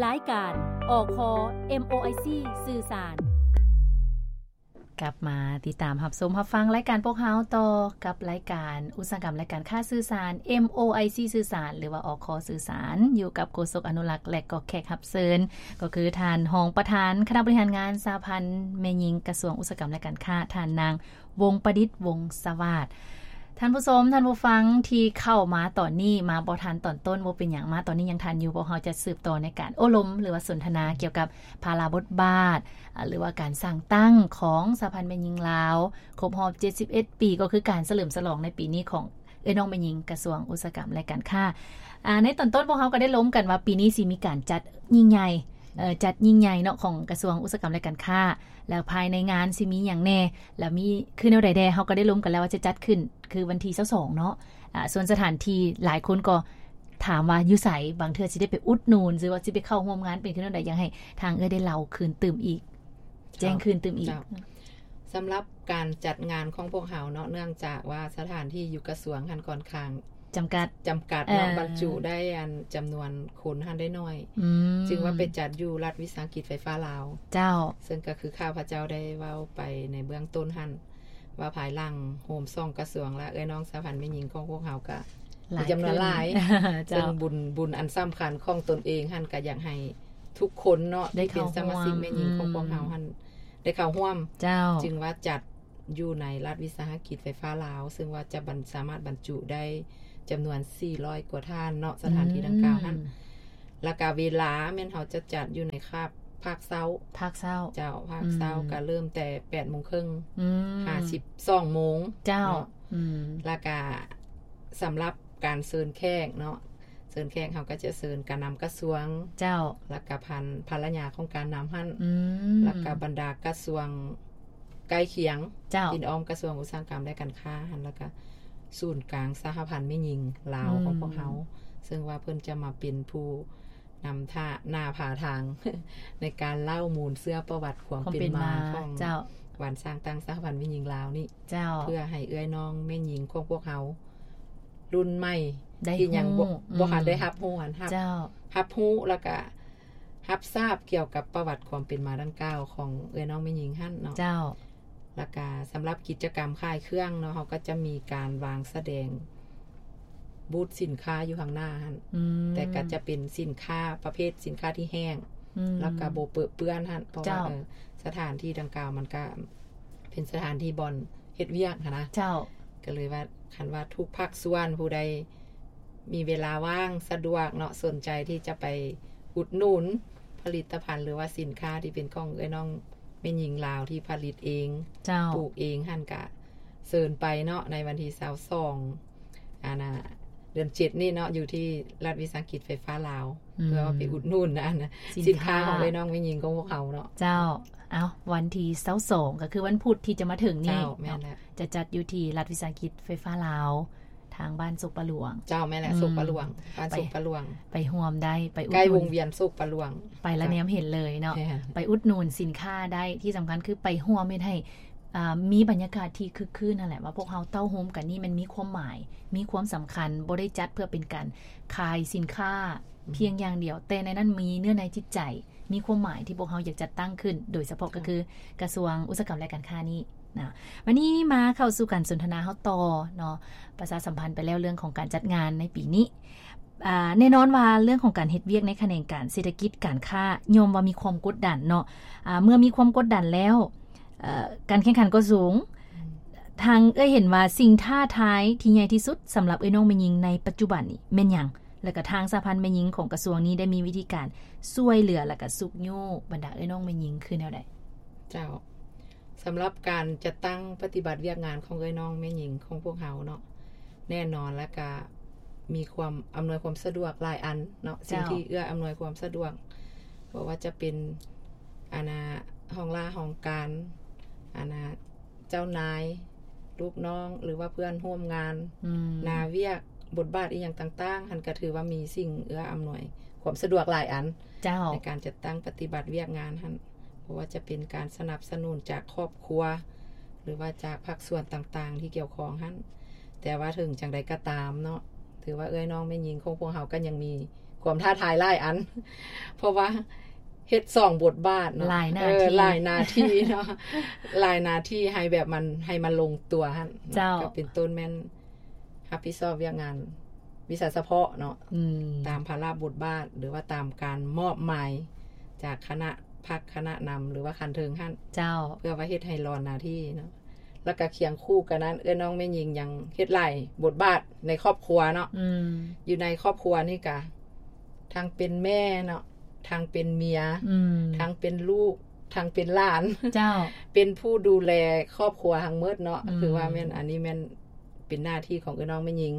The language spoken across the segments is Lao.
ລາຍການ ອຄ ເອັມໂອໄອຊີ ສື່ສານ. ກັບມາຕິດຕາມຮັບຊົມຮັບຟັງລາຍການພວກເຮົາຕໍ່ກັບລາຍການອຸດສາຫະກຳ ແລະ ການຄ້າສື່ສານ ເອັມໂອໄອຊີ ສື່ສານ ຫຼືວ່າ ອຄ ສື່ສານ ຢູ່ກັບໂຄສົກອະນຸລັກ ແລະ ກໍແຂກຮັບເຊີນ ກໍຄືທ່ານຮອງປະທານຄະນະບໍລິຫານງານສະຫະພັນແມ່ຍິງກະຊວງອຸດສາຫະກຳ ແລະ ການຄ້າ ທ່ານນາງ ວົງປະດິດ ວົງສະຫວາດ. ທ່ານຜູ້ຊົມ ທ່ານຜູ້ຟັງທີ່ເຂົ້າມາຕອນນີ້ ມາບໍ່ທັນຕອນຕົ້ນ ບໍ່ເປັນຫຍັງ ມາຕອນນີ້ຍັງທັນຢູ່ ພວກເຮົາຈະສືບຕໍ່ໃນການໂອ້ລົມ ຫຼືວ່າສົນທະນາກ່ຽວກັບພາລະບົດບາດ ອາ ຫຼືວ່າການສ້າງຕັ້ງຂອງສະຫະພັນແມ່ຍິງລາວ ຄົບຮອບເຈັດສິບເອັດປີ ກໍຄືການສະເຫຼີມສະຫຼອງໃນປີນີ້ຂອງເອື້ອຍນ້ອງແມ່ຍິງກະຊວງອຸດສາຫະກຳ ແລະ ການຄ້າ. ອາ ໃນຕອນຕົ້ນພວກເຮົາກໍໄດ້ລົມກັນວ່າ ປີນີ້ຊິມີການຈັດຍິ່ງໃຫຍ່ ເອີ ຈັດຍິ່ງໃຫຍ່ເນາະ ຂອງກະຊວງອຸດສາຫະກຳ ແລະ ການຄ້າ ແລ້ວພາຍໃນງານຊິມີຫຍັງແດ່ ແລ້ວມີຄືແນວໃດແດ່ ເຮົາກໍໄດ້ລົມກັນແລ້ວວ່າຈະຈັດຂຶ້ນຄືວັນທີຊາວສອງເນາະ. ອາ ສ່ວນສະຖານທີ່ຫຼາຍຄົນກໍຖາມວ່າຢູ່ໃສ ບາງເທື່ອຊິໄດ້ໄປອຸດໜູນ ຫຼືວ່າຊິໄປເຂົ້າຮ່ວມງານເປັນຄືແນວໃດ ຢາກໃຫ້ທາງເອື້ອຍໄດ້ເລົ່າຄືນຕື່ມອີກ ເຈົ້າ ແຈ້ງຄືນຕື່ມອີກ. ເຈົ້າ ສຳລັບການຈັດງານຂອງພວກເຮົາເນາະ ເນື່ອງຈາກວ່າສະຖານທີ່ຢູ່ກະຊວງຫັ້ນຂ້ອນຂ້າງ ຈຳກັດ ຈຳກັດເນາະ ເອີ ບັນຈຸໄດ້ອັນຈຳນວນຄົນຫັ້ນໄດ້ໜ້ອຍ ອືມ ຈຶ່ງວ່າໄປຈັດຢູ່ລັດວິສາຫະກິດໄຟຟ້າລາວ. ເຈົ້າ ເຊິ່ງກໍຄືຂ້າພະເຈົ້າໄດ້ເວົ້າໄປໃນເບື້ອງຕົ້ນຫັ້ນ ວ່າພາຍຫຼັງໂຮມສອງກະຊວງ ແລະ ເອື້ອຍນ້ອງສະຫະພັນແມ່ຍິງຂອງພວກເຮົາກໍມີຈຳນວນຫຼາຍ ເຈົ້າ ເຊິ່ງບຸນ ບຸນອັນສຳຄັນຂອງຕົນເອງຫັ້ນ ກໍຢາກໃຫ້ທຸກຄົນເນາະ ທີ່ເປັນສະມາຊິກແມ່ຍິງຂອງພວກເຮົາຫັ້ນ ໄດ້ເຂົ້າຮ່ວມ ເຈົ້າ ຈຶ່ງວ່າຈັດ ຢູ່ໃນລັດວິສາຫະກິດໄຟຟ້າລາວ ເຊິ່ງວ່າຈະບັນ ສາມາດບັນຈຸໄດ້ຈຳນວນສີ່ຮ້ອຍກວ່າທ່ານເນາະ ສະຖານທີ່ດັ່ງກ່າວຫັ້ນ ອືມ ແລ້ວກະເວລາແມ່ນເຮົາຈະຈັດຢູ່ໃນຄາບພາກເຊົ້າ ພາກເຊົ້າ ເຈົ້າ ພາກເຊົ້າ ອືມ ກະເລີ່ມແຕ່ແປດໂມງເຄິ່ງ ອືມ ຫາສິບສອງໂມງ ເຈົ້າ ເນາະ ອືມ ແລ້ວກະສຳລັບການເຊີນແຂກເນາະ ເຊີນແຂກເຮົາກໍຈະເຊີນການນຳກະຊວງ ເຈົ້າ ແລ້ວກະພັນ ພັນລະຍາຂອງການນຳຫັ້ນ ອືມ ແລ້ວກະບັນດາກະຊວງໃກ້ຄຽງ ເຈົ້າ ທີ່ອ້ອມກະຊວງອຸດສາຫະກຳ ແລະ ການຄ້າຫັ້ນ ແລ້ວກະສູນກາງສະຫະພັນແມ່ຍິງລາວ ອືມ ຂອງພວກເຮົາ ເຊິ່ງວ່າເພິ່ນຈະມາເປັນຜູ້ນຳທ່າ ນາພາທາງ ໃນການເລົ່າມູນເຊື້ອປະຫວັດຄວາມເປັນມາ ຄວາມເປັນມາ ຂອງ ເຈົ້າ ວັນສ້າງຕັ້ງສະຫະພັນແມ່ຍິງລາວນີ້ ເຈົ້າ ເພື່ອໃຫ້ເອື້ອຍນ້ອງແມ່ຍິງຂອງພວກເຮົາລຸ້ນໃໝ່ ໄດ້ ທີ່ຍັງບໍ່ ຮູ້ ອືມ ບໍ່ທັນໄດ້ຮັບຮູ້ຫັ້ນ ຮັບ ເຈົ້າ ຮັບຮູ້ ແລ້ວກະຮັບຊາບກ່ຽວກັບປະຫວັດຄວາມເປັນມາດັ່ງກ່າວຂອງເອື້ອຍນ້ອງແມ່ຍິງຫັ້ນເນາະ ເຈົ້າ ແລ້ວກະສຳລັບກິດຈະກຳຂາຍເຄື່ອງເນາະ ເຮົາກໍຈະມີການວາງສະແດງບູດສິນຄ້າຢູ່ຂ້າງໜ້າຫັ້ນ ອືມ ແຕ່ກໍຈະເປັນສິນຄ້າປະເພດສິນຄ້າທີ່ແຫ້ງ ອືມ ແລ້ວກໍບໍ່ເປິເປື້ອນຫັ້ນ ເພາະວ່າ ເຈົ້າ ເອີ ສະຖານທີ່ດັ່ງກ່າວມັນກໍເປັນສະຖານທີ່ບ່ອນ ເຮັດວຽກຫັ້ນນະ ເຈົ້າ ກໍເລີຍວ່າ ຄັນວ່າທຸກພາກສ່ວນຜູ້ໃດມີເວລາວ່າງສະດວກເນາະ ສົນໃຈທີ່ຈະໄປອຸດໜູນຜະລິດຕະພັນ ຫຼືວ່າສິນຄ້າທີ່ເປັນຂອງເອື້ອຍນ້ອງແມ່ຍິງລາວທີ່ຜະລິດເອງ ເຈົ້າ ປູກເອງຫັ້ນ ກະເຊີນໄປເນາະ ໃນວັນທີຊາວສອງ ອັນນ່າ ເດືອນເຈັດນີ້ເນາະ ຢູ່ທີ່ລັດວິສາຫະກິດໄຟຟ້າລາວ ອືມ ເພື່ອວ່າໄປອຸດໜູນອັນນ່າ ສິນຄ້າ ສິນຄ້າຂອງເອື້ອຍນ້ອງແມ່ຍິງຂອງພວກເຮົາເນາະ ເຈົ້າ. ເອົ້າ ວັນທີຊາວສອງ ກໍຄືວັນພຸດທີ່ຈະມາເຖິງນີ້ ເຈົ້າ ແມ່ນແລ້ວ ເນາະ ຈະຈັດຢູ່ທີ່ລັດວິສາຫະກິດໄຟຟ້າລາວ ທາງບ້ານໂຊກປາຫຼວງ ເຈົ້າ ແມ່ນແຫຼະ ອືມ ໂຊກປາຫຼວງ ບ້ານໂຊກປາຫຼວງ ໄປ ໄປຮ່ວມໄດ້ ໄປອຸດໜູນ ໃກ້ວົງວຽນໂຊກປາຫຼວງ ໄປລະແນມເຫັນເລີຍເນາະ ແມ່ນ ໄປອຸດໜູນສິນຄ້າໄດ້ ທີ່ສຳຄັນຄືໄປຮ່ວມເຮັດໃຫ້ ອ່າ ມີບັນຍາກາດທີ່ຄຶກຄື້ນຫັ້ນແຫຼະ ວ່າພວກເຮົາເຕົ້າໂຮມກັນນີ້ມັນມີຄວາມໝາຍ ມີຄວາມສຳຄັນ ບໍ່ໄດ້ຈັດເພື່ອເປັນການຂາຍສິນຄ້າ ອືມ ພຽງຢ່າງດຽວ ແຕ່ໃນນັ້ນມີເນື້ອໃນຈິດໃຈ ມີຄວາມໝາຍທີ່ພວກເຮົາຢາກຈັດຕັ້ງຂຶ້ນ ໂດຍສະເພາະ ເຈົ້າ ກໍຄືກະຊວງອຸດສາຫະກຳ ແລະ ການຄ້ານີ້ນະ. ບັດນີ້ມາເຂົ້າສູ່ການສົນທະນາເຮົາຕໍ່ເນາະ ປະຊາສຳພັນໄປແລ້ວເລື່ອງຂອງການຈັດງານໃນປີນີ້. ອາ ແນ່ນອນວ່າເລື່ອງຂອງການເຮັດວຽກໃນຂະແໜງການເສດຖະກິດການຄ້າ ຍ່ອມວ່າມີຄວາມກົດດັນເນາະ ອາ ເມື່ອມີຄວາມກົດດັນແລ້ວ ເອີ ການແຂ່ງຂັນກໍສູງ ອືມ ທາງເອື້ອຍເຫັນວ່າສິ່ງທ້າທາຍທີ່ໃຫຍ່ທີ່ສຸດສຳລັບເອື້ອຍນ້ອງແມ່ຍິງໃນປັດຈຸບັນນີ້ແມ່ນຫຍັງ? ແລະກະທາງສະຫະພັນແມ່ຍິງຂອງກະຊວງນີ້ໄດ້ມີວິທີການຊ່ວຍເຫຼືອ ແລະກະຊຸກຍູ້ບັນດາເອື້ອຍນ້ອງແມ່ຍິງຄືແນວໃດ? ເຈົ້າ ສຳລັບການຈັດຕັ້ງປະຕິບັດວຽກງານຂອງເອື້ອຍນ້ອງແມ່ຍິງຂອງພວກເຮົາເນາະ ແນ່ນອນ ແລ້ວກະມີຄວາມອຳນວຍຄວາມສະດວກຫຼາຍອັນເນາະ ເຈົ້າ ສິ່ງທີ່ເອື້ອອຳນວຍຄວາມສະດວກ ບໍ່ວ່າຈະເປັນ ອັນນ່າ ຫ້ອງລາຫ້ອງການ ອັນນ່າ ເຈົ້ານາຍ ລູກນ້ອງ ຫຼືວ່າເພື່ອນຮ່ວມງານ ອືມ ໜ້າວຽກ ບົດບາດອີ່ຫຍັງຕ່າງໆ ຫັ້ນກະຖືວ່າມີສິ່ງເອື້ອອຳນວຍຄວາມສະດວກຫຼາຍອັນ ເຈົ້າ ໃນການຈັດຕັ້ງປະຕິບັດວຽກງານຫັ້ນ ບໍ່ວ່າຈະເປັນການສະໜັບສະໜູນຈາກຄອບຄົວ ຫຼືວ່າຈາກພາກສ່ວນຕ່າງໆທີ່ກ່ຽວຂ້ອງຫັ້ນ ແຕ່ວ່າເຖິງຈັ່ງໃດກໍຕາມເນາະ ຖືວ່າເອື້ອຍນ້ອງແມ່ຍິງຂອງພວກເຮົາກໍຍັງມີ ຄວາມທ້າທາຍຫຼາຍອັນ ເພາະວ່າເຮັດສອງບົດບາດເນາະ ຫຼາຍໜ້າທີ່ ເອີ ຫຼາຍໜ້າທີ່ເນາະ ຫຼາຍໜ້າທີ່ໃຫ້ແບບມັນ ໃຫ້ມັນລົງຕົວຫັ້ນ ເຈົ້າ ກໍເປັນຕົ້ນແມ່ນຮັບຜິດຊອບວຽກງານວິຊາສະເພາະເນາະ ອືມ ຕາມພາລະບົດບາດ ຫຼືວ່າຕາມການມອບໝາຍຈາກຄະນະພັກ ຄະນະນຳ ຫຼືວ່າຂັ້ນເທິງຫັ້ນ ເຈົ້າ ເພື່ອວ່າເຮັດໃຫ້ຫຼອນໜ້າທີ່ເນາະ. ແລ້ວກະຄຽງຄູ່ກັນນັ້ນ ເອື້ອຍນ້ອງແມ່ຍິງຍັງເຮັດຫຼາຍບົດບາດໃນຄອບຄົວເນາະ ອືມ ຢູ່ໃນຄອບຄົວນີ້ກະທັງເປັນແມ່ເນາະ ທັງເປັນເມຍ ອືມ ທັງເປັນລູກ ທັງເປັນຫຼານ ເຈົ້າ ເປັນຜູ້ດູແລຄອບຄົວທັງໝົດເນາະ ອືມ ຖືວ່າແມ່ນ ອັນນີ້ແມ່ນເປັນໜ້າທີ່ຂອງເອື້ອຍນ້ອງແມ່ຍິງ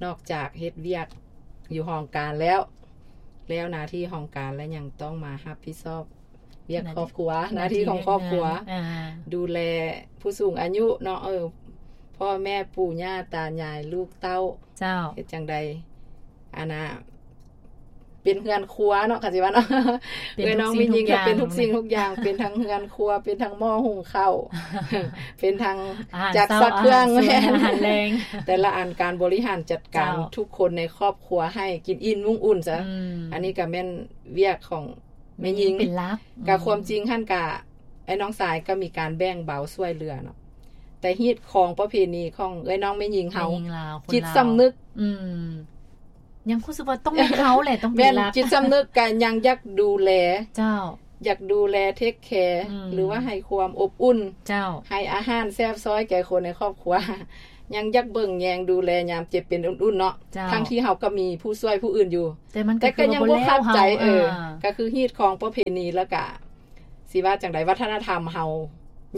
ນອກຈາກເຮັດວຽກຢູ່ຫ້ອງການແລ້ວ ແລ້ວໜ້າທີ່ຫ້ອງການ ແລະ ຍັງຕ້ອງມາຮັບຜິດຊອບ ວຽກຄອບຄົວ ໜ້າທີ່ຂອງຄອບຄົວ ໜ້າທີ່ວຽກງານ ອ່າ ດູແລຜູ້ສູງອາຍຸເນາະ ເອີ ພໍ່ແມ່ ປູ່ຍ່າ ຕາຍາຍ ລູກເຕົ້າ ເຈົ້າ ເຮັດຈັ່ງໃດ ອັນນ່າ ເປັນເຮືອນຄົວເນາະ ຄັນຊິວ່າເນາະ ເອື້ອຍນ້ອງແມ່ຍິງກໍເປັນທຸກສິ່ງທຸກຢ່າງ ເປັນທັງເຮືອນຄົວ ເປັນທັງໝໍ້ຫຸງເຂົ້າ ເປັນທັງຈັກຊັກເຄື່ອງ ອາຫານເຊົ້າ ອາຫານແລງ ແຕ່ລະອັນ ການບໍລິຫານຈັດການ ເຈົ້າ ທຸກຄົນໃນຄອບຄົວໃຫ້ກິນອີ່ມນຸ່ງອຸ່ນຊະ ອືມ ອັນນີ້ກໍແມ່ນວຽກຂອງ ແມ່ຍິງເປັນຫຼັກ ກໍຄວາມຈິງຫັ້ນກະ ອ້າຍນ້ອງຊາຍກໍມີການແບ່ງເບົາຊ່ວຍເຫຼືອເນາະ ແຕ່ຮີດຄອງປະເພນີຂອງເອື້ອຍນ້ອງແມ່ຍິງເຮົາ ແມ່ຍິງລາວ ຈິດສຳນຶກ ອືມ ຍັງຮູ້ສຶກວ່າຕ້ອງແມ່ນເຮົາແຫຼະ ຕ້ອງເປັນຫຼັກ ແມ່ນ ຈິດສຳນຶກກໍຍັງຢາກດູແລ ເຈົ້າ ຢາກດູແລ ເທກແຄ ອືມ ຫຼືວ່າໃຫ້ຄວາມອົບອຸ່ນ ເຈົ້າ ໃຫ້ອາຫານແຊບຊ້ອຍແກ່ຄົນໃນຄອບຄົວ ຍັງຢາກເບິ່ງແຍງດູແລຍາມເຈັບເປັນອຸ່ນໆເນາະ ເຈົ້າ ທັງທີ່ເຮົາກໍມີຜູ້ຊ່ວຍຜູ້ອື່ນຢູ່ ແຕ່ມັນ ແຕ່ກໍຍັງບໍ່ຄັບໃຈ ເອີ ອ່າ ກໍຄືຮີດຄອງປະເພນີ ແລ້ວກະຊິວ່າຈັ່ງໃດ ວັດທະນະທຳເຮົາ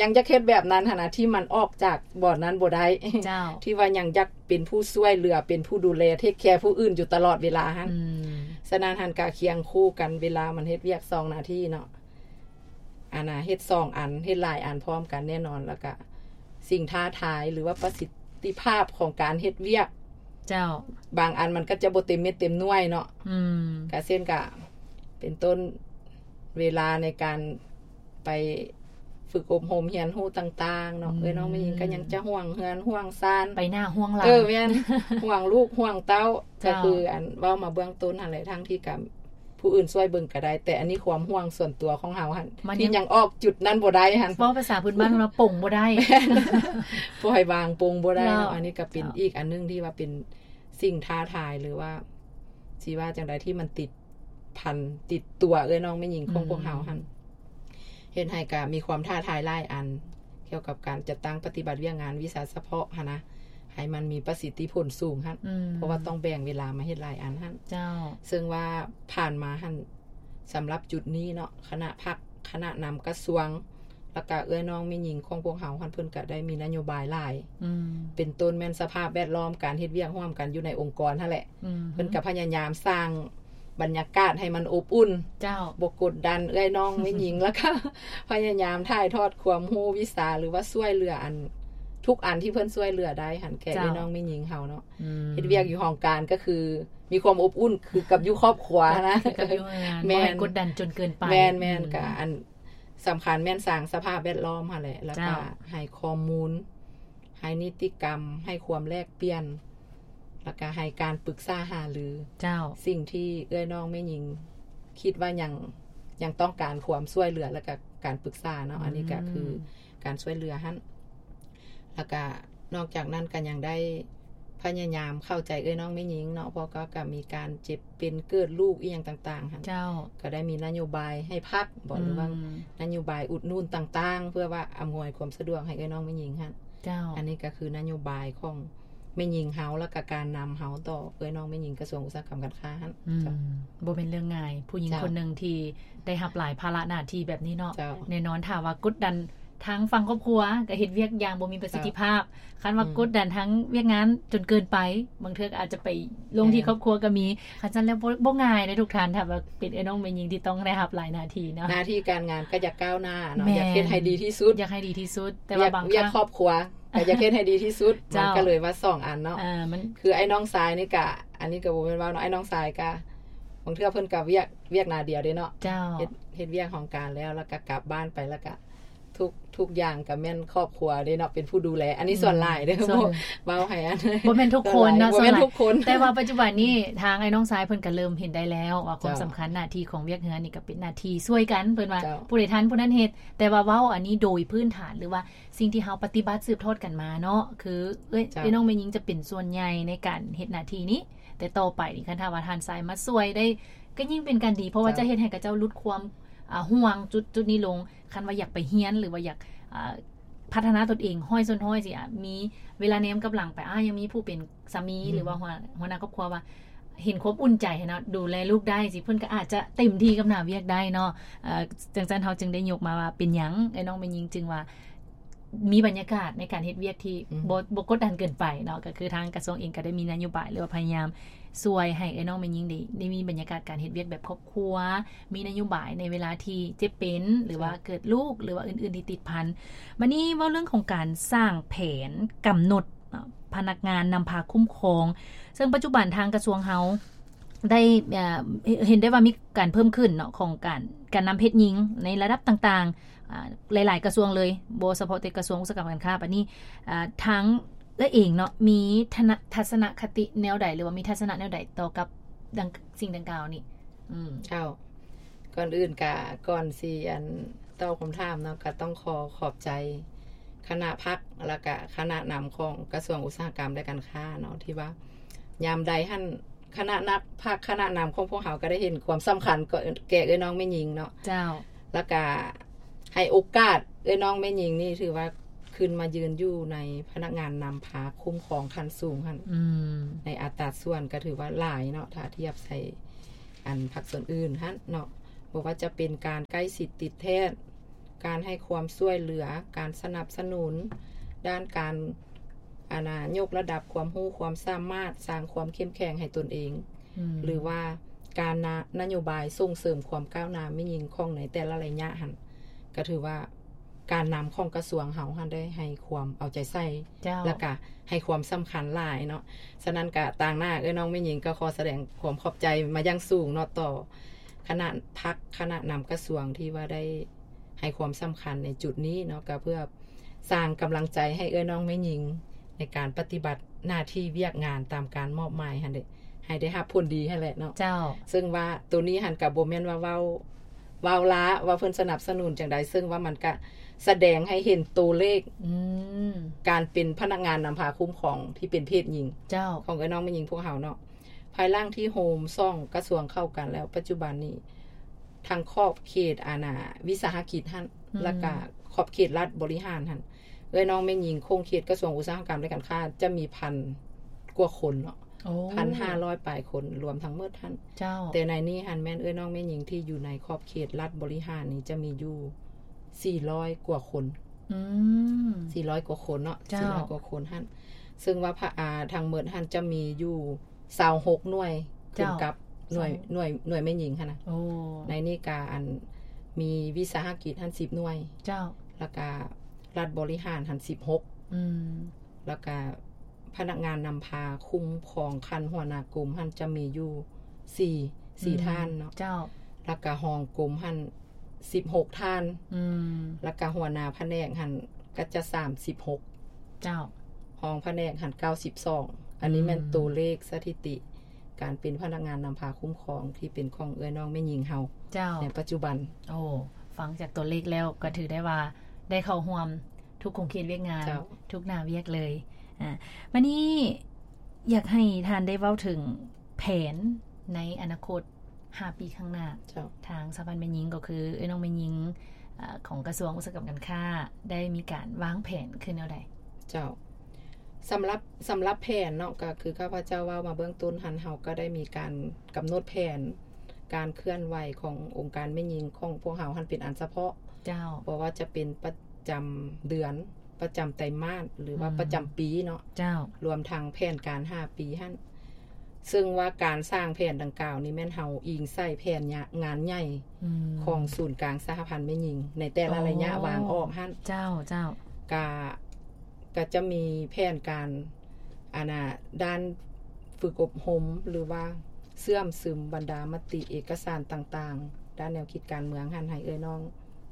ຍັງຢາກເຮັດແບບນັ້ນຫັ້ນນະ ທີ່ມັນອອກຈາກບ່ອນນັ້ນບໍ່ໄດ້ ເຈົ້າ ທີ່ວ່າຍັງຢາກເປັນຜູ້ຊ່ວຍເຫຼືອ ເປັນຜູ້ດູແລ ເທກແຄຜູ້ອື່ນຢູ່ຕະຫຼອດເວລາຫັ້ນ ອືມ ສະນັ້ນຫັ້ນກະຄຽງຄູ່ກັນ ເວລາມັນເຮັດວຽກສອງໜ້າທີ່ເນາະ ອັນນ່າ ເຮັດສອງອັນ ເຮັດຫຼາຍອັນພ້ອມກັນແນ່ນອນ ແລ້ວກະສິ່ງທ້າທາຍ ຫຼືວ່າປະສິດທິພາບຂອງການເຮັດວຽກ ເຈົ້າ ບາງອັນມັນກໍຈະບໍ່ເຕັມເມັດເຕັມໜ່ວຍເນາະ ອືມ ກະເຊັ່ນ ກະເປັນຕົ້ນ ເວລາໃນການໄປຝຶກອົບຮົມຮຽນຮູ້ຕ່າງໆເນາະ ອືມ ເອື້ອຍນ້ອງແມ່ຍິງກໍຍັງຈະຫ່ວງເຮືອນຫ່ວງຊານ ໄປໜ້າຫ່ວງຫຼັງ ເອີ ແມ່ນ ຫ່ວງລູກຫ່ວງເຕົ້າ ເຈົ້າ ກໍຄືອັນເວົ້າມາເບື້ອງຕົ້ນຫັ້ນແຫຼະ ທັງທີ່ກະ ຜູ້ອື່ນຊ່ວຍເບິ່ງກໍໄດ້ ແຕ່ອັນນີ້ຄວາມຫ່ວງສ່ວນຕົວຂອງເຮົາຫັ້ນ ທີ່ຍັງອອກຈຸດນັ້ນບໍ່ໄດ້ຫັ້ນ ເວົ້າພາສາພື້ນບ້ານວ່າປົງບໍ່ໄດ້ ແມ່ນ ປ່ອຍວາງປົງບໍ່ໄດ້ເນາະ ເຈົ້າ ອັນນີ້ກໍເປັນ ເຈົ້າ ອີກອັນໜຶ່ງທີ່ວ່າເປັນສິ່ງທ້າທາຍ ຫຼືວ່າຊິວ່າຈັ່ງໃດ ທີ່ມັນຕິດພັນ ຕິດຕົວເອື້ອຍນ້ອງແມ່ຍິງຂອງ ອືມ ພວກເຮົາຫັ້ນ ເຮັດໃຫ້ກະມີຄວາມທ້າທາຍຫຼາຍອັນ ກ່ຽວກັບການຈັດຕັ້ງປະຕິບັດວຽກງານວິຊາສະເພາະຫັ້ນນະ ໃຫ້ມັນມີປະສິດທິຜົນສູງຫັ້ນ ອືມ ເພາະວ່າຕ້ອງແບ່ງເວລາມາເຮັດຫຼາຍອັນຫັ້ນ ເຈົ້າ ເຊິ່ງວ່າຜ່ານມາຫັ້ນ ສຳລັບຈຸດນີ້ເນາະ ຄະນະພັກ ຄະນະນຳກະຊວງ ແລ້ວກະເອື້ອຍນ້ອງແມ່ຍິງຂອງພວກເຮົາຫັ້ນ ເພິ່ນກະໄດ້ມີນະໂຍບາຍຫຼາຍ ອືມ ເປັນຕົ້ນແມ່ນສະພາບແວດລ້ອມ ການເຮັດວຽກຮ່ວມກັນຢູ່ໃນອົງກອນຫັ້ນແຫຼະ ອືມ ເພິ່ນກະພະຍາຍາມສ້າງ ບັນຍາກາດໃຫ້ມັນອົບອຸ່ນ ເຈົ້າ ບໍ່ກົດດັນເອື້ອຍນ້ອງແມ່ຍິງ ແລ້ວກະພະຍາຍາມຖ່າຍທອດຄວາມຮູ້ວິຊາ ຫຼືວ່າຊ່ວຍເຫຼືອອັນ ທຸກອັນທີ່ເພິ່ນຊ່ວຍເຫຼືອໄດ້ຫັ້ນ ແກ່ ເຈົ້າ ເອື້ອຍນ້ອງແມ່ຍິງເຮົາເນາະ ອືມ ເຮັດວຽກຢູ່ຫ້ອງການກໍຄືມີຄວາມອົບອຸ່ນຄືກັບຢູ່ຄອບຄົວນະ ຄືກັບຢູ່ໂຮງງານ ແມ່ນ ບໍ່ໃຫ້ກົດດັນຈົນເກີນໄປ ແມ່ນໆ ອືມ ກະອັນສຳຄັນແມ່ນສ້າງສະພາບແວດລ້ອມຫັ້ນແຫຼະ ແລ້ວກະ ເຈົ້າ ໃຫ້ຂໍ້ມູນ ໃຫ້ນິຕິກຳ ໃຫ້ຄວາມແລກປ່ຽນ ແລ້ວກະໃຫ້ການປຶກສາຫາລື ເຈົ້າ ສິ່ງທີ່ເອື້ອຍນ້ອງແມ່ຍິງຄິດວ່າຍັງ ຍັງຕ້ອງການຄວາມຊ່ວຍເຫຼືອ ແລ້ວກະການປຶກສາເນາະ ອືມ ອັນນີ້ກະຄືການຊ່ວຍເຫຼືອຫັ້ນ ແລ້ວກະນອກຈາກນັ້ນກະຍັງໄດ້ພະຍາຍາມເຂົ້າໃຈເອື້ອຍນ້ອງແມ່ຍິງເນາະ ເພາະກໍ ກໍມີການເຈັບເປັນເກີດລູກອີ່ຫຍັງຕ່າງໆຫັ້ນ ເຈົ້າ ກໍໄດ້ມີນະໂຍບາຍໃຫ້ພັກບໍ ອືມ ຫຼືວ່ານະໂຍບາຍອຸດໜູນຕ່າງໆ ເພື່ອວ່າອຳນວຍຄວາມສະດວກໃຫ້ເອື້ອຍນ້ອງແມ່ຍິງຫັ້ນ ເຈົ້າ ອັນນີ້ກໍຄືນະໂຍບາຍຂອງ ແມ່ຍິງເຮົາ ແລ້ວກະການນຳເຮົາຕໍ່ເອື້ອຍນ້ອງແມ່ຍິງກະຊວງອຸດສາຫະກຳການຄ້າຫັ້ນ ອືມ ເຈົ້າ ບໍ່ແມ່ນເລື່ອງງ່າຍ ຜູ້ຍິງ ເຈົ້າ ຄົນໜຶ່ງທີ່ໄດ້ຮັບຫຼາຍພາລະໜ້າທີ່ແບບນີ້ເນາະ ເຈົ້າ ແນ່ນອນ ຖ້າວ່າກົດດັນທາງຝັ່ງຄອບຄົວກະເຮັດວຽກຢ່າງບໍ່ມີປະສິດທິພາບ ເຈົ້າ ຄັນວ່າ ອືມ ກົດດັນທາງວຽກງານຈົນເກີນໄປ ບາງເທື່ອກະອາດຈະໄປລົງທີ່ ແມ່ນ ຄອບຄົວກະມີ ຄັນຊັ້ນແລ້ວ ບໍ່ ບໍ່ງ່າຍເດ້ທຸກທ່ານ ຖ້າວ່າເປັນເອື້ອຍນ້ອງແມ່ຍິງທີ່ຕ້ອງໄດ້ຮັບຫຼາຍໜ້າທີ່ເນາະ ໜ້າທີ່ການງານກະຢາກກ້າວໜ້າເນາະ ແມ່ນ ຢາກເຮັດໃຫ້ດີທີ່ສຸດ ຢາກໃຫ້ດີທີ່ສຸດ ແຕ່ວ່າບາງຄັ້ງ ວຽກຄອບຄົວ ກໍຢາກເຮັດໃຫ້ດີທີ່ສຸດ ເຈົ້າ ມັນກໍເລີຍວ່າສອງອັນເນາະ ເອີ ມັນ ຄືອ້າຍນ້ອງຊາຍນີ້ກະ ອັນນີ້ກະບໍ່ແມ່ນເວົ້າເນາະ ອ້າຍນ້ອງຊາຍກະ ບາງເທື່ອເພິ່ນກະວຽກ ວຽກໜ້າດຽວເດ້ເນາະ ເຈົ້າ ເຮັດ ເຮັດວຽກຫ້ອງການແລ້ວ ແລ້ວກະກັບບ້ານໄປ ແລ້ວກະ ທຸກ ທຸກຢ່າງກໍແມ່ນຄອບຄົວເດ້ເນາະ ເປັນຜູ້ດູແລ ອັນນີ້ສ່ວນຫຼາຍເດ້ ອືມ ເວົ້າໃຫ້ອັນ ບໍ່ແມ່ນທຸກຄົນເນາະ ສ່ວນຫຼາຍ ສ່ວນຫຼາຍ ບໍ່ແມ່ນທຸກຄົນ ແຕ່ວ່າປັດຈຸບັນນີ້ທາງອ້າຍນ້ອງຊາຍເພິ່ນກໍເລີ່ມເຫັນໄດ້ແລ້ວວ່າຄວາມ ເຈົ້າ ສຳຄັນ ໜ້າທີ່ຂອງວຽກເຮືອນນີ້ກໍເປັນໜ້າທີ່ຊ່ວຍກັນ ເພິ່ນວ່າ ເຈົ້າ ຜູ້ໃດທັນຜູ້ນັ້ນເຮັດ ແຕ່ວ່າເວົ້າອັນນີ້ໂດຍພື້ນຖານ ຫຼືວ່າສິ່ງທີ່ເຮົາປະຕິບັດສືບທອດກັນມາເນາະ ຄືເອື້ອຍ ເຈົ້າ ເອື້ອຍນ້ອງແມ່ຍິງຈະເປັນສ່ວນໃຫຍ່ໃນການເຮັດໜ້າທີ່ນີ້ ແຕ່ຕໍ່ໄປນີ້ ຄັນຖ້າວ່າທ່ານຊາຍມາຊ່ວຍໄດ້ ກໍຍິ່ງເປັນການດີ ເພາະວ່າ ເຈົ້າ ຈະເຮັດໃຫ້ຂະເຈົ້າຫຼຸດຄວາມ ອ່າ ຫ່ວງຈຸດ ຈຸດນີ້ລົງ ຄັນວ່າຢາກໄປຮຽນ ຫຼືວ່າຢາກ ອ່າ ພັດທະນາຕົນເອງຮ້ອຍສ່ວນຮ້ອຍຊີ້ ອາ ມີເວລາແນມກັບຫຼັງໄປ ອາ ຍັງມີຜູ້ເປັນສາມີ ອືມ ຫຼືວ່າຫົວ ຫົວໜ້າຄອບຄົວວ່າ ເຫັນຄວາມອຸ່ນໃຈເນາະ ດູແລລູກໄດ້ຊີ້ ເພິ່ນກໍອາດຈະເຕັມທີ່ກັບໜ້າວຽກໄດ້ເນາະ ເອີ ຈັ່ງຊັ້ນເຮົາຈຶ່ງໄດ້ຍົກມາວ່າ ເປັນຫຍັງເອື້ອຍນ້ອງແມ່ຍິງຈຶ່ງວ່າ ມີບັນຍາກາດໃນການເຮັດວຽກທີ່ ອືມ ບໍ່ ບໍ່ກົດດັນເກີນໄປເນາະ ກໍຄືທາງກະຊວງເອງກໍໄດ້ມີນະໂຍບາຍ ຫຼືວ່າພະຍາຍາມຊ່ວຍໃຫ້ເອື້ອຍນ້ອງແມ່ຍິງໄດ້ ໄດ້ມີບັນຍາກາດການເຮັດວຽກແບບຄອບຄົວ ມີນະໂຍບາຍໃນເວລາທີ່ເຈັບເປັນ ຫຼືວ່າ ເຈົ້າ ເກີດລູກ ຫຼືວ່າອື່ນໆທີ່ຕິດພັນ. ບັດນີ້ເວົ້າເລື່ອງຂອງການສ້າງແຜນກຳນົດ ເນາະ ພະນັກງານນຳພາຄຸ້ມຄອງ ເຊິ່ງປັດຈຸບັນທາງກະຊວງເຮົາໄດ້ ເອີ ເຫັນໄດ້ວ່າມີການເພີ່ມຂຶ້ນເນາະ ຂອງການ ການນຳເພດຍິງໃນລະດັບຕ່າງໆ ອາ ຫຼາຍໆກະຊວງເລີຍ ບໍ່ສະເພາະແຕ່ກະຊວງອຸດສາຫະກຳການຄ້າ. ບັດນີ້ ອາ ທາງເອື້ອຍເອງເນາະ ມີທັດສະນະຄະຕິແນວໃດ ຫຼືວ່າມີທັດສະນະແນວໃດຕໍ່ກັບດັ່ງ ສິ່ງດັ່ງກ່າວນີ້? ອືມ ເຈົ້າ ກ່ອນອື່ນກະ ກ່ອນຊິອັນຕອບຄຳຖາມເນາະ ກະຕ້ອງຂໍຂອບໃຈຄະນະພັກ ແລ້ວກະຄະນະນຳຂອງກະຊວງອຸດສາຫະກຳ ແລະ ການຄ້າເນາະ ທີ່ວ່າຍາມໃດຫັ້ນ ຄະນະນຳພັກ ຄະນະນຳຂອງພວກເຮົາກະໄດ້ເຫັນຄວາມສຳຄັນ ແກ່ເອື້ອຍນ້ອງແມ່ຍິງເນາະ ເຈົ້າ ແລ້ວກະໃຫ້ໂອກາດເອື້ອຍນ້ອງແມ່ຍິງນີ້ ຖືວ່າຂຶ້ນມາຢືນຢູ່ໃນພະນັກງານນຳພາຄຸ້ມຄອງຂັ້ນສູງຫັ້ນ ອືມ ໃນອັດຕາສ່ວນກະຖືວ່າຫຼາຍເນາະ ຖ້າທຽບໃສ່ອັນພາກສ່ວນອື່ນຫັ້ນເນາະ ບໍ່ວ່າຈະເປັນການໃກ້ຊິດຕິດແທດ ການໃຫ້ຄວາມຊ່ວຍເຫຼືອ ການສະໜັບສະໜູນດ້ານການ ອັນນ່າ ຍົກລະດັບຄວາມຮູ້ຄວາມສາມາດ ສ້າງຄວາມເຂັ້ມແຂງໃຫ້ຕົນເອງ ອືມ ຫຼືວ່າການນະ ນະໂຍບາຍສົ່ງເສີມຄວາມກ້າວໜ້າແມ່ຍິງຂອງໃນແຕ່ລະໄລຍະຫັ້ນ ກະຖືວ່າການນຳຂອງກະຊວງເຮົາຫັ້ນໄດ້ໃຫ້ຄວາມເອົາໃຈໃສ່ ເຈົ້າ ແລ້ວກະໃຫ້ຄວາມສຳຄັນຫຼາຍເນາະ. ສະນັ້ນກະຕາງໜ້າເອື້ອຍນ້ອງແມ່ຍິງກໍຂໍສະແດງຄວາມຂອບໃຈມາຢ່າງສູງເນາະ ຕໍ່ຄະນະພັກ ຄະນະນຳກະຊວງທີ່ວ່າໄດ້ ໃຫ້ຄວາມສຳຄັນໃນຈຸດນີ້ເນາະ ກໍເພື່ອສ້າງກຳລັງໃຈໃຫ້ເອື້ອຍນ້ອງແມ່ຍິງ ໃນການປະຕິບັດໜ້າທີ່ວຽກງານຕາມການມອບໝາຍຫັ້ນເດ ໃຫ້ໄດ້ຮັບຜົນດີຫັ້ນແຫຼະເນາະ ເຈົ້າ ເຊິ່ງວ່າໂຕນີ້ຫັ້ນກໍບໍ່ແມ່ນວ່າເວົ້າ ເວົ້າລ້າວ່າເພິ່ນສະໜັບສະໜູນຈັ່ງໃດ ເຊິ່ງວ່າມັນກະສະແດງໃຫ້ເຫັນໂຕເລກ ອືມ ການເປັນພະນັກງານນຳພາຄຸ້ມຄອງທີ່ເປັນເພດຍິງ ເຈົ້າ ຂອງເອື້ອຍນ້ອງແມ່ຍິງພວກເຮົາເນາະ. ພາຍຫຼັງທີ່ໂຮມສອງກະຊວງເຂົ້າກັນແລ້ວ ປັດຈຸບັນນີ້ ທັງຂອບເຂດ ອັນນ່າ ວິສາຫະກິດຫັ້ນ ອືມ ແລ້ວກະຂອບເຂດລັດບໍລິຫານຫັ້ນ ເອື້ອຍນ້ອງແມ່ຍິງຂົງເຂດກະຊວງອຸດສາຫະກຳ ແລະ ການຄ້າ ຈະມີພັນກວ່າຄົນເນາະ ໂອ້ ພັນຫ້າຮ້ອຍປາຍຄົນ ລວມທັງໝົດຫັ້ນ ເຈົ້າ ແຕ່ໃນນີ້ຫັ້ນແມ່ນເອື້ອຍນ້ອງແມ່ຍິງທີ່ຢູ່ໃນຂອບເຂດລັດບໍລິຫານນີ້ ຈະມີຢູ່ສີ່ຮ້ອຍກວ່າຄົນ ອືມ ສີ່ຮ້ອຍກວ່າຄົນເນາະ ເຈົ້າ ສີ່ຮ້ອຍກວ່າຄົນຫັ້ນ ເຊິ່ງວ່າ ອາ ທັງໝົດຫັ້ນຈະມີຢູ່ ຊາວຫົກໜ່ວຍ ເຈົ້າ ຂຶ້ນກັບໜ່ວຍ ຊາວຫົກ ໜ່ວຍ ໜ່ວຍແມ່ຍິງຫັ້ນນະ ໂອ້ ໃນນີ້ກະ ອັນ ມີວິສາຫະກິດຫັ້ນສິບໜ່ວຍ ເຈົ້າ ແລ້ວກະລັດບໍລິຫານຫັ້ນສິບຫົກ ອືມ ແລ້ວກະພະນັກງານນຳພາຄຸ້ມຄອງຂັ້ນຫົວໜ້າກົມຫັ້ນຈະມີຢູ່ສີ່ ສີ່ ອືມ ທ່ານເນາະ ເຈົ້າ ແລ້ວກະຮອງກົມຫັ້ນສິບຫົກທ່ານ ອືມ ແລ້ວກະຫົວໜ້າພະແນກຫັ້ນ ກໍຈະສາມສິບຫົກ ເຈົ້າ ຮອງພະແນກຫັ້ນເກົ້າສິບສອງ ອັນນີ້ແມ່ນ ອືມ ໂຕເລກສະຖິຕິການເປັນພະນັກງານນຳພາຄຸ້ມຄອງທີ່ເປັນຂອງເອື້ອຍນ້ອງແມ່ຍິງເຮົາ ເຈົ້າ ໃນປັດຈຸບັນ. ໂອ້ ຟັງຈາກໂຕເລກແລ້ວກໍຖືໄດ້ວ່າໄດ້ເຂົ້າຮ່ວມທຸກຂົງເຂດວຽກງານ ເຈົ້າ ທຸກໜ້າວຽກເລີຍ. ອາ ບັດນີ້ຢາກໃຫ້ທ່ານໄດ້ເວົ້າເຖິງແຜນໃນອະນາຄົດ ຫ້າປີຂ້າງໜ້າ ເຈົ້າ ທາງສະຫະພັນແມ່ຍິງ ກໍຄືເອື້ອຍນ້ອງແມ່ຍິງ ອາ ຂອງກະຊວງອຸດສາຫະກຳການຄ້າ ໄດ້ມີການວາງແຜນຄືແນວໃດ? ເຈົ້າ ສຳລັບ ສຳລັບແຜນເນາະ ກໍຄືຂ້າພະເຈົ້າເວົ້າມາເບື້ອງຕົ້ນຫັ້ນ ເຮົາກໍໄດ້ມີການກຳນົດແຜນການເຄື່ອນໄຫວຂອງອົງການແມ່ຍິງຂອງພວກເຮົາຫັ້ນເປັນອັນສະເພາະ ເຈົ້າ ບໍ່ວ່າຈະເປັນປະຈຳເດືອນ ປະຈຳໄຕມາດ ຫຼືວ່າ ອືມ ປະຈຳປີເນາະ ເຈົ້າ ລວມທັງແຜນການຫ້າປີຫັ້ນ ເຊິ່ງວ່າການສ້າງແຜນດັ່ງກ່າວນີ້ແມ່ນເຮົາອີງໃສ່ແຜນງານໃຫຍ່ ອືມ ຂອງສູນກາງສະຫະພັນແມ່ຍິງ ໃນແຕ່ລະໄລຍະ ໂອ້ ວາງອອກຫັ້ນ ເຈົ້າ ເຈົ້າ ກະ ກະຈະມີແຜນການ ອັນນ່າ ດ້ານຝຶກອົບຮົມ ຫຼືວ່າເຊື່ອມຊຶມບັນດາມະຕິເອກະສານຕ່າງໆ ດ້ານແນວຄິດການເມືອງຫັ້ນ ໃຫ້ເອື້ອຍນ້ອງ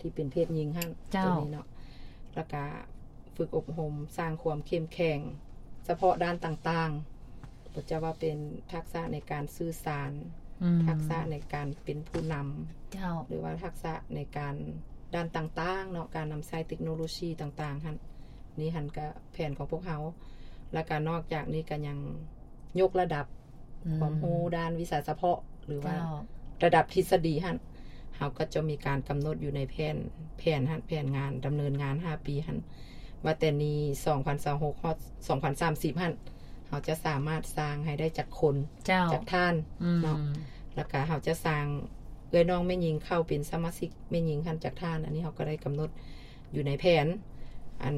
ທີ່ເປັນເພດຍິງຫັ້ນ ເຈົ້າ ໂຕນີ້ເນາະ ແລ້ວກະຝຶກອົບຮົມສ້າງຄວາມເຂັ້ມແຂງສະເພາະດ້ານຕ່າງໆ ບໍ່ວ່າຈະເປັນທັກສະໃນການສື່ສານ ອືມ ທັກສະໃນການເປັນຜູ້ນຳ ເຈົ້າ ຫຼືວ່າທັກສະໃນການດ້ານຕ່າງໆເນາະ ການນຳໃຊ້ເຕັກໂນໂລຊີຕ່າງໆຫັ້ນ ນີ້ຫັ້ນກະແຜນຂອງພວກເຮົາ ແລ້ວກະນອກຈາກນີ້ກະຍັງຍົກລະດັບ ອືມ ຄວາມຮູ້ດ້ານວິຊາສະເພາະ ຫຼືວ່າ ເຈົ້າ ລະດັບທິດສະດີຫັ້ນ ເຮົາກໍຈະມີການກຳນົດຢູ່ໃນແຜນ ແຜນຫັ້ນ ແຜນງານດຳເນີນງານຫ້າປີຫັ້ນ ວ່າແຕ່ນີ້ ສອງພັນຊາວຫົກ ຮອດ ສອງພັນສາມສິບຫັ້ນ ເຮົາຈະສາມາດສ້າງໃຫ້ໄດ້ຈັກຄົນ ເຈົ້າ ຈັກທ່ານ ອືມ ເນາະ ແລ້ວກະເຮົາຈະສ້າງເອື້ອຍນ້ອງແມ່ຍິງເຂົ້າເປັນສະມາຊິກແມ່ຍິງຫັ້ນຈັກທ່ານ ອັນນີ້ເຮົາກໍໄດ້ກຳນົດ ຢູ່ໃນແຜນ ອັນ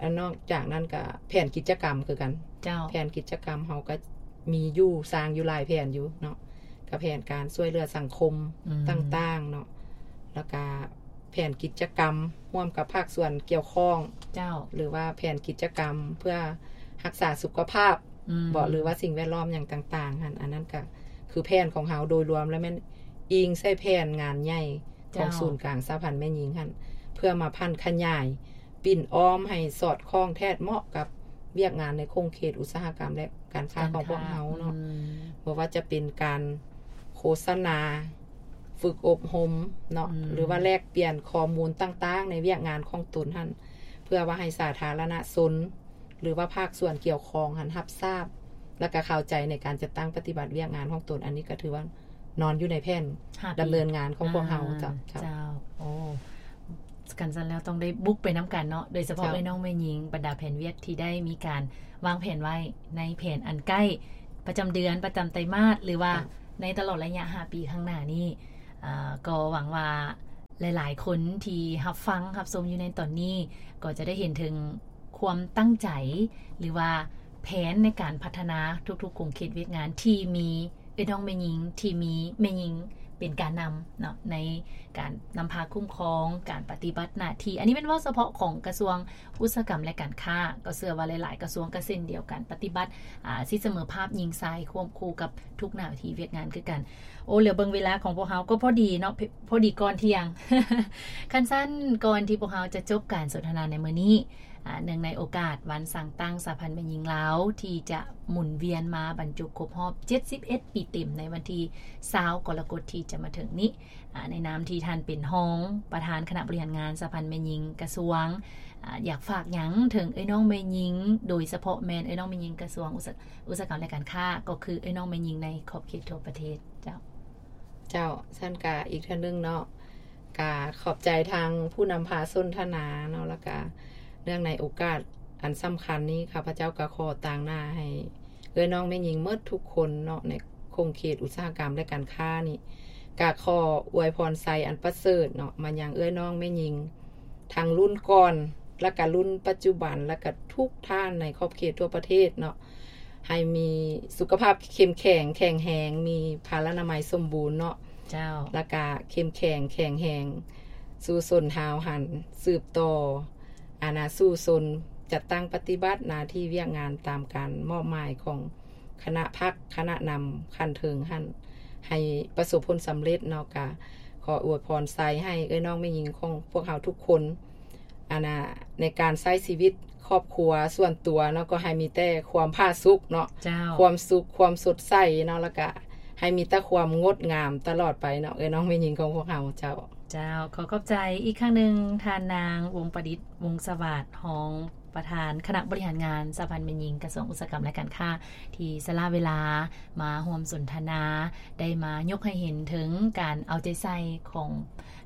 ອັນນອກຈາກນັ້ນກະແຜນກິດຈະກຳຄືກັນ ເຈົ້າ ແຜນກິດຈະກຳເຮົາກະມີຢູ່ ສ້າງຢູ່ຫຼາຍແຜນຢູ່ເນາະ ກະແຜນການຊ່ວຍເຫຼືອສັງຄົມ ອືມ ຕ່າງໆເນາະ ແລ້ວກະແຜນກິດຈະກຳຮ່ວມກັບພາກສ່ວນກ່ຽວຂ້ອງ ເຈົ້າ ຫຼືວ່າແຜນກິດຈະກຳເພື່ອຮັກສາສຸຂະພາບ ອືມ ເບາະ ຫຼືວ່າສິ່ງແວດລ້ອມຫຍັງຕ່າງໆຫັ້ນ ອັນນັ້ນກະຄືແຜນຂອງເຮົາໂດຍລວມ ແລະແມ່ນອີງໃສ່ແຜນງານໃຫຍ່ ຂອງ ເຈົ້າ ສູນກາງສະຫະພັນແມ່ຍິງຫັ້ນ ເພື່ອມາຜັນຂະຫຍາຍ ປິ່ນອ້ອມໃຫ້ສອດຄ່ອງແທດເໝາະກັບວຽກງານໃນຂົງເຂດອຸດສາຫະກຳ ແລະ ການຄ້າ ການຄ້າ ຂອງພວກເຮົາເນາະ ອືມ ບໍ່ວ່າຈະເປັນການໂຄສະນາ ຝຶກອົບຮົມເນາະ ອືມ ຫຼືວ່າແລກປ່ຽນຂໍ້ມູນຕ່າງໆໃນວຽກງານຂອງຕົນຫັ້ນ ເພື່ອວ່າໃຫ້ສາທາລະນະຊົນ ຫຼືວ່າພາກສ່ວນກ່ຽວຂ້ອງຫັ້ນຮັບຊາບ ແລ້ວກະເຂົ້າໃຈໃນການຈັດຕັ້ງປະຕິບັດວຽກງານຂອງຕົນ ອັນນີ້ກະຖືວ່ານອນຢູ່ໃນແຜນ ຫ້າປີ ດຳເນີນງານຂອງພວກເຮົາ ອ່າ ເຈົ້າ ເຈົ້າ ເຈົ້າ ໂອ້ ຄັນຊັ້ນແລ້ວຕ້ອງໄດ້ບຸກໄປນຳກັນເນາະ ໂດຍສະເພາະ ເຈົ້າ ເອື້ອຍນ້ອງແມ່ຍິງ ບັນດາແຜນວຽກທີ່ໄດ້ມີການວາງແຜນໄວ້ໃນແຜນອັນໃກ້ ປະຈຳເດືອນ ປະຈຳໄຕມາດ ຫຼືວ່າ ເຈົ້າ ໃນຕະຫຼອດໄລຍະຫ້າປີຂ້າງໜ້ານີ້ ອ່າ ກໍຫວັງວ່າຫຼາຍໆຄົນທີ່ຮັບຟັງຮັບຊົມຢູ່ໃນຕອນນີ້ ກໍຈະໄດ້ເຫັນເຖິງ ຄວາມຕັ້ງໃຈ ຫຼືວ່າແຜນໃນການພັດທະນາທຸກໆຂົງເຂດວຽກງານທີ່ມີເອື້ອຍນ້ອງແມ່ຍິງ ທີ່ມີແມ່ຍິງເປັນການນຳເນາະ ໃນການນຳພາຄຸ້ມຄອງ ການປະຕິບັດໜ້າທີ່ ອັນນີ້ແມ່ນເວົ້າສະເພາະຂອງກະຊວງອຸດສາຫະກຳ ແລະ ການຄ້າ ກໍເຊື່ອວ່າຫຼາຍໆກະຊວງກໍເຊັ່ນດຽວກັນ ປະຕິບັດ ອາ ສິດສະເໝີພາບຍິງຊາຍຄວບຄູ່ກັບທຸກໜ້າທີ່ວຽກງານຄືກັນ. ໂອ້ ເຫຼືອເບິ່ງເວລາຂອງພວກເຮົາກໍພໍດີເນາະ ພໍດີກ່ອນທ່ຽງ ຄັນຊັ້ນ ກ່ອນທີ່ພວກເຮົາຈະຈົບການສົນທະນາໃນມື້ນີ້ ອາ ເນື່ອງໃນໂອກາດວັນສ້າງຕັ້ງສະຫະພັນແມ່ຍິງລາວ ທີ່ຈະໝູນວຽນມາບັນຈຸຄົບຮອບເຈັດສິບເອັດປີເຕັມ ໃນວັນທີຊາວ ກໍລະກົດທີ່ຈະມາເຖິງນີ້ ອາ ໃນນາມທີ່ທ່ານເປັນຮອງປະທານຄະນະບໍລິຫານງານສະຫະພັນແມ່ຍິງກະຊວງ ອາ ຢາກຝາກຫຍັງເຖິງເອື້ອຍນ້ອງແມ່ຍິງ ໂດຍສະເພາະແມ່ນເອື້ອຍນ້ອງແມ່ຍິງກະຊວງອຸດສາ ອຸດສາຫະກຳ ແລະ ການຄ້າ ກໍຄືເອື້ອຍນ້ອງແມ່ຍິງໃນຂອບເຂດທົ່ວປະເທດ ເຈົ້າ. ເຈົ້າ ຊັ້ນກະອີກເທື່ອໜຶ່ງເນາະ ກະຂອບໃຈທາງຜູ້ນຳພາສົນທະນາເນາະ ແລ້ວກະເນື່ອງໃນໂອກາດອັນສຳຄັນນີ້ ຂ້າພະເຈົ້າກະຂໍຕາງໜ້າໃຫ້ເອື້ອຍນ້ອງແມ່ຍິງໝົດທຸກຄົນເນາະ ໃນຂົງເຂດອຸດສາຫະກຳ ແລະ ການຄ້ານີ້ ກະຂໍອວຍພອນໄຊອັນປະເສີດເນາະ ມາຍັງເອື້ອຍນ້ອງແມ່ຍິງ ທັງລຸ້ນກ່ອນ ແລ້ວກະລຸ້ນປັດຈຸບັນ ແລ້ວກະທຸກທ່ານໃນຂອບເຂດທົ່ວປະເທດເນາະ ໃຫ້ມີສຸຂະພາບເຂັ້ມແຂງ ແຂງແຮງ ມີພະລານາໄມສົມບູນເນາະ ເຈົ້າ ແລ້ວກະເຂັ້ມແຂງ ແຂງແຮງ ສູ້ຊົນຫ້າວຫັນ ສືບຕໍ່ ອານາ ສູ້ຊົນ ຈັດຕັ້ງປະຕິບັດໜ້າທີ່ວຽກງານຕາມການມອບໝາຍຂອງຄະນະພັກ ຄະນະນຳຂັ້ນເທິງຫັ້ນ ໃຫ້ປະສົບຜົນສຳເລັດເນາະ ກະຂໍອວຍພອນໄຊໃຫ້ເອື້ອຍນ້ອງແມ່ຍິງຂອງພວກເຮົາທຸກຄົນ ອັນນ່າ ໃນການໃຊ້ຊີວິດຄອບຄົວສ່ວນຕົວເນາະ ກໍໃຫ້ມີແຕ່ຄວາມຜາສຸກເນາະ ເຈົ້າ ຄວາມສຸກ ຄວາມສົດໃສເນາະ ແລ້ວກະໃຫ້ມີແຕ່ຄວາມງົດງາມຕະຫຼອດໄປເນາະ ເອື້ອຍນ້ອງແມ່ຍິງຂອງພວກເຮົາ ເຈົ້າ. ເຈົ້າ ຂໍຂອບໃຈອີກຄັ້ງໜຶ່ງ ທ່ານນາງ ວົງປະດິດ ວົງສະຫວາດ ຮອງປະທານຄະນະບໍລິຫານງານສະຫະພັນແມ່ຍິງກະຊວງອຸດສາຫະກຳ ແລະ ການຄ້າ ທີ່ສະຫຼະເວລາມາຮ່ວມສົນທະນາ ໄດ້ມາຍົກໃຫ້ເຫັນເຖິງການເອົາໃຈໃສ່ຂອງ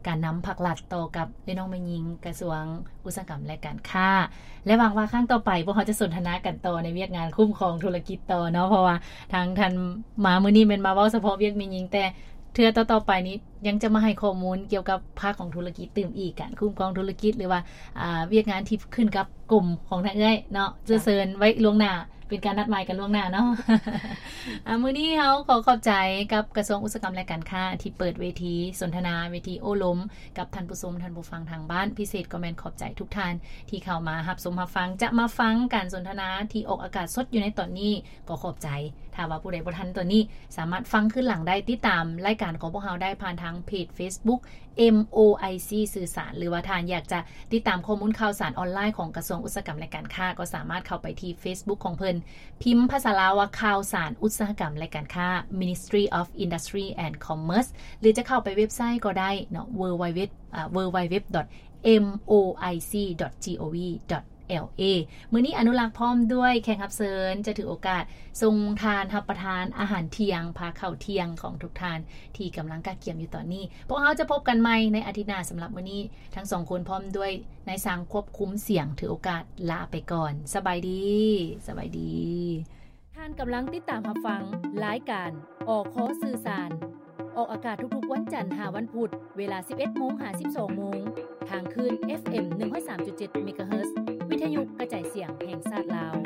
ການນຳພັກລັດຕໍ່ກັບເອື້ອຍນ້ອງແມ່ຍິງກະຊວງອຸດສາຫະກຳ ແລະ ການຄ້າ ແລະ ຫວັງວ່າຄັ້ງຕໍ່ໄປພວກເຮົາຈະສົນທະນາກັນຕໍ່ໃນວຽກງານຄຸ້ມຄອງທຸລະກິດຕໍ່ເນາະ ເພາະວ່າທາງທ່ານມາມື້ນີ້ແມ່ນມາເວົ້າສະເພາະວຽກແມ່ຍິງ ແຕ່ເທື່ອຕໍ່ໆໄປນີ້ຍັງຈະມາໃຫ້ຂໍ້ມູນກ່ຽວກັບພາກຂອງທຸລະກິດຕື່ມອີກ ການຄຸ້ມຄອງທຸລະກິດ ຫຼືວ່າ ອາ ວຽກງານທີ່ຂຶ້ນກັບກົມຂອງທາງເອື້ອຍເນາະ ຈະເຊີນໄວ້ລ່ວງໜ້າ ເປັນການນັດໝາຍກັນລ່ວງໜ້າເນາະ. ອາ ມື້ນີ້ເຮົາຂໍຂອບໃຈກັບກະຊວງອຸດສາຫະກຳ ແລະ ການຄ້າ ທີ່ເປີດເວທີສົນທະນາ ເວທີໂອ້ລົມກັບທ່ານຜູ້ຊົມ ທ່ານຜູ້ຟັງທາງບ້ານ. ພິເສດກໍແມ່ນຂອບໃຈທຸກທ່ານທີ່ເຂົ້າມາຮັບຊົມຮັບຟັງ. ຈະມາຟັງການສົນທະນາທີ່ອອກອາກາດສົດຢູ່ໃນຕອນນີ້ ກໍຂອບໃຈ ຖ້າວ່າຜູ້ໃດບໍ່ທັນຕອນນີ້ ສາມາດຟັງຄືນຫຼັງໄດ້ ຕິດຕາມລາຍການຂອງພວກເຮົາໄດ້ຜ່ານທາງເພຈ Facebook ເອັມ ໂອ ໄອ ຊີ ສື່ສານ ຫຼືວ່າທ່ານຢາກຈະຕິດຕາມຂໍ້ມູນຂ່າວສານອອນລາຍຂອງກະຊວງອຸດສາຫະກຳ ແລະ ການຄ້າ ກໍສາມາດເຂົ້າໄປທີ່ Facebook ຂອງເພິ່ນ ພິມພາສາລາວວ່າ ຂ່າວສານອຸດສາຫະກຳ ແລະ ການຄ້າ Ministry of Industry and Commerce ຫຼືຈະເຂົ້າໄປເວັບໄຊກໍໄດ້ເນາະ www ອ່າ www.moic.gov.la ມື້ນີ້ອະນຸລັກພ້ອມດ້ວຍແຂກຮັບເຊີນ ຈະຖືໂອກາດສົ່ງທ່ານຮັບປະທານອາຫານທ່ຽງ ພາເຂົ້າທ່ຽງຂອງທຸກທ່ານທີ່ກຳລັງກະກຽມຢູ່ຕອນນີ້. ພວກເຮົາຈະພົບກັນໃໝ່ໃນອາທິດໜ້າ. ສຳລັບມື້ນີ້ ທັງສອງຄົນພ້ອມດ້ວຍນາຍຊ່າງຄວບຄຸມສຽງ ຖືໂອກາດລາໄປກ່ອນ. ສະບາຍດີ. ສະບາຍດີ. ທ່ານກຳລັງຕິດຕາມຮັບຟັງລາຍການ ອຄ ສື່ສານ ອອກອາກາດທຸກໆວັນຈັນຫາວັນພຸດ ເວລາສິບເອັດໂມງຫາສິບສອງໂມງ ທາງຄື້ນ ເອັຟເອັມ ໜຶ່ງຮ້ອຍສາມຈຸດເຈັດ ເມກາເຮີດ ວິທະຍຸກະຈາຍສຽງແຫ່ງຊາດລາວ.